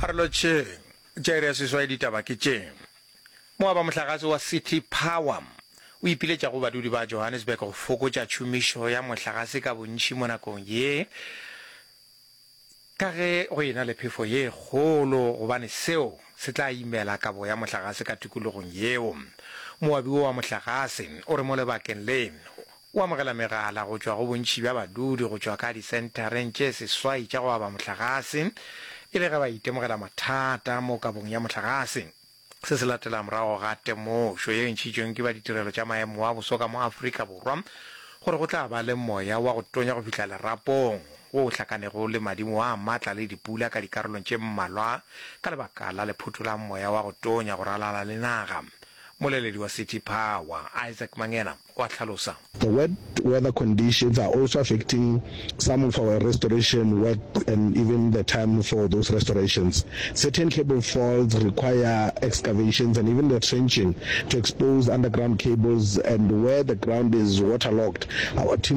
A re lotšheng. Tša iri ya seswai ditaba ke tše. Moabamohlagase wa City Power o ipiletša go badudi ba Johannesburg go fokotša tšhomišo ya mohlagase ka bontši mo nakong ye ka ge go ena le phefo ye kgolo gobane seo se tla imela kabo ya mohlagase ka tikologong yeo. Moabi wo wa mohlagase o re mo lebakeng le O amogela megala go tšwa go bontši bja badudi go tšwa ka disenthareng tše seswai tša go aba mohlagase e le ge ba itemogela mathata mo kabong ya mohlagase. Se se latela morago ga temošo ye e ntšhitšweng ke ba ditirelo tša maemo a boso ka mo Afrika Borwa gore go tla ba le moya wa go tonya go fihla lerapong wo o hlakanego le madimo a matla le dipula ka dikarolong tše mmalwa ka lebaka la lephotho la moya wa go tonya go ralala le naga. Moleledi wa City Power, Isaac Mangena, o a hlalosa. The wet weather conditions are also affecting some of our restoration work and even the time for those restorations. Certain cable faults require excavations and even the trenching to expose underground cables and where the ground is waterlogged, our team.